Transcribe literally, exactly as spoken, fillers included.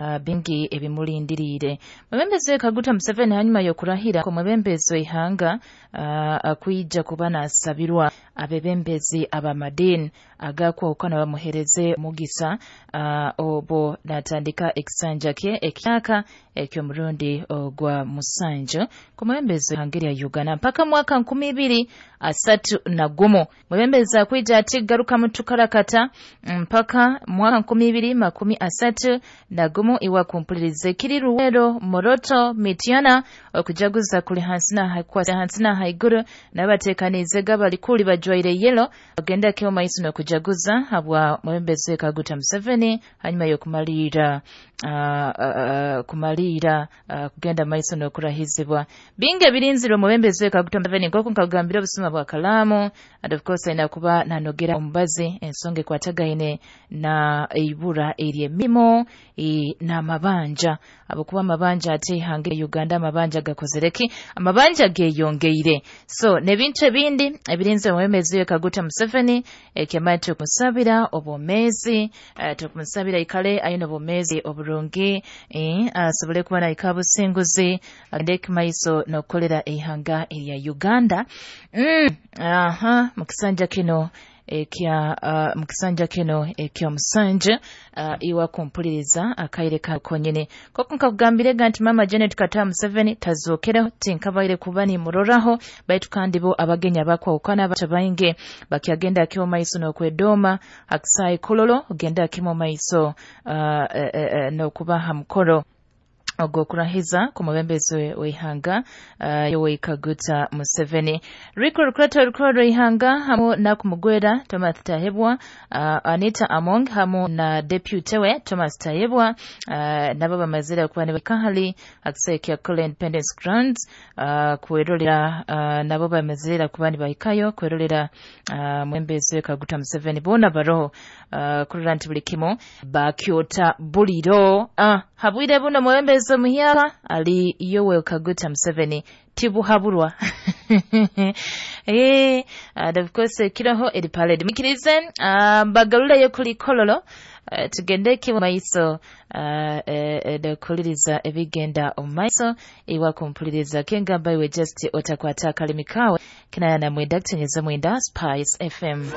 uh, bingi ebimulindiriire. Mwebembezi Kaguta Museveni hanyuma y'okurahira omwebembezi w'ihanga uh, akwija kuba nasabirwa abebembezi abamadini agakwawukana bamuhereze mugisa uh, obo natandika ekisanja kye ekyaka eky'omurundi ogwa musanju ku mwebembezi w'ihanga lya Uganda mpaka mwaka nkumi ibiri asatu na gumu. Mwebembezi akwija ati garuka mutukarakata mpaka mwaka nkumi ibiri makumi asatu na gumu. Iwa kumpulirize kiri Ruwero, Moroto, Mityana okujaguza kuli hansi na hakwasa hansi na haiguru n'abateekaniize gabalikuli bajwaire yelo ogenda keo maiso n'okujaguza habwa mwebembezi Kaguta Museveni hanyuma y'okumalira uh, uh, kumalira uh, kugenda maiso n'okurahizibwa. Bingi ebirinzirwe omwebembezi Kaguta Museveni nk'oku nkagambira obusuma bwa kalaamu, and of course ayina kuba nanogera omubazi ensonga ekwatagaine na eibura ery'emirimu e, n'amabanja, abakuba amabanja ate ihanga lya Uganda amabanja gakozereki, amabanja geyongeire. So n'ebintu ebindi ebirinze omwebembezi Kaguta Museveni ekyamaye tukumusabira obwomeezi, uh, tukumusabira ikale ayina obwomeezi oburungi, eh, asobole kuba naika businguzi agende maiso n'okukolera eihanga erya Uganda. Mm, aha mukisanja kino ekya uh, mukisanja kino ekyomusanja uh, iwa kumpuliriza akaire ka konyene koko nkakugambirega nti mama Janet Kataha Museveni tazookeraho tinkabaire kuba nimuroraho, baitu kandi bo abagenya abakwawukana batabainge bakyagenda akimo maiso n'okwedoma akisayi kololo ogenda akimo maiso uh, uh, uh, n'okubaha mukoro ogw'okurahiza ku mubembezi w'ihanga uh, Yoweri Kaguta Museveni. Rico Rukrato rukuru rw'ihanga hamu na kumugwera Thomas Tayebwa, uh, Anita Among hamu na deputy we Thomas Tayebwa, uh, nabo bamazire kuba nibakahali akisai kya Kole Independence Grounds uh, kwerolera, uh, nabo bamazire kuba nibahikayo kwerolera uh, mwembezi Kaguta Museveni bona baroho uh, kurora nti buli kimu bakyota buliro. uh, habwire buno mwembezi muhyaka ali Yoweri Kaguta Museveni tibuhaburwa. Eh, and of course kiroho eri parade mikirize uh, mbagaruleyo kuli kololo, uh, tugende kimu maiso uh, uh, ebigenda omumaiso iwa kumpuliriza kengamba iwe just otakwata akalimi kawe kinaya na mwenda kutenyeza mwenda Spice F M.